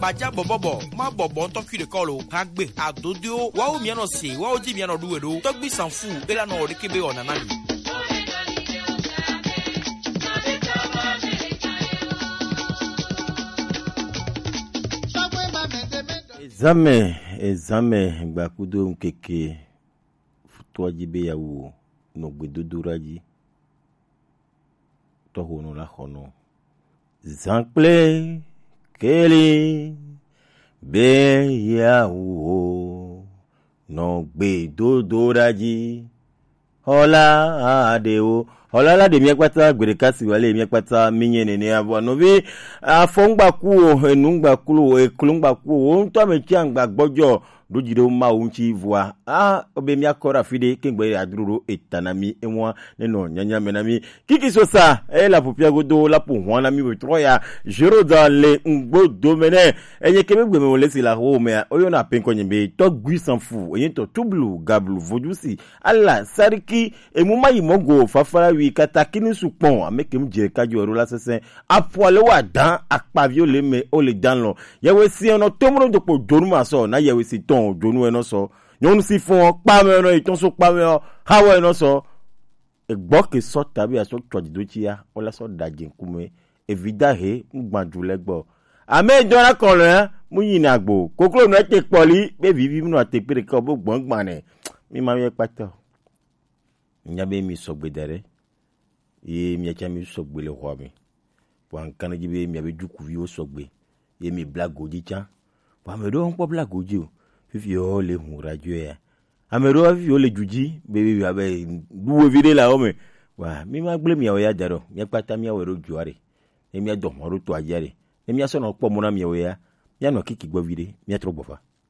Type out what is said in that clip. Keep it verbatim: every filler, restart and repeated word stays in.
Kpaja bɔbɔbɔ, ma bɔbɔ ŋutɔ kui ɖe kɔ lo. Hagbe, adodoewo, wawo mia nɔ se, wawo di mia nɔ ɖu we ɖo. Tɔgbi sanfu, ela nɔ ɖeke be wɔna na mi. Ezame, ezame, gbakudo ŋkeke, futua dzi be yawu nɔ gbedodoɖa dzi. Tɔxonu la xɔnu. Zan kple keli be yawu nɔ gbedodoɖa dzi. Xɔla aɖewo. Xɔla la ɖe mia kpata gbe ɖeka si wale mia kpata mi nye nenea vɔ nɔvi afɔ ŋgbaku o, enu ŋgbaku o, eklo ŋgbaku o, wo ŋutɔ ame tsi aŋgba gbɔdzɔ ɖo dzi ɖo Mawu ŋuti vɔa. A, obe mia kɔ ɖe afi ɖe kengbe adro ɖo eta na mi, enua ne nɔ nyanya me na mi. Kiki sosa, e la ƒoƒia godo la ƒo hɔn na mi be trɔ ya, zero da le ŋgbo dome ne. Enye ke be gbeme wo le si la ho mea, oyɔna pe ŋkɔ nye be Tɔgbi Sanfu, enye tɔ tublu, gablu, vodusi, ala, sariki, emu ma yi mɔ go, fafara wi, katakini su kpɔn, ame ke mu dze ka jo ero la sese, aƒua le wa dan, akpaviwo le me, o le dan lɔ. Yewe si enɔ tomro do kpo dzonu ma sɔ, na yewe si tɔn dzonu enɔ sɔ. Nyɔnu si fɔn, kpa me enɔ, etɔn so kpa me o, ha wɔ enɔ sɔ. Egbɔ ke sɔ tabi aso tsɔ dzido tsia, o la sɔ da dze ŋkume. Evi da he, ŋgba du le gbɔ. Ame dɔ la kɔ lɛ, mu yi na gbo. Koklo nɔ te kpɔli, be vivi mu nɔ te kpe ɖeka, o bo gbɔn gba nɛ. Mi ma mi kpata. Nya be mi sɔgbe da ɖe. Ye mia tsa mi sɔgbe le xɔa me. Vɔa ŋkan ɖe dzi be miabe dukuviwo sɔgbe. Ye mi bla godzi tsã. Vɔa ame ɖewo ŋkpɔ bla godzi o. Fifi wo le hu radio ya. Ame ɖewo fifi wo le du dzi be be be ɖu wevi ɖe le awo me. Vɔa mi ma gblẽ miawo ya da ɖo. Mia kpata mia wɔ ɖo dua ɖe. Ne mia dɔ hɔn ɖo to adzia ɖe. Ne mia sɔ nɔ kpɔ mo na miawo ya. Mia nɔ kiki gbɔ vi ɖe. Mia trɔ gbɔ fa.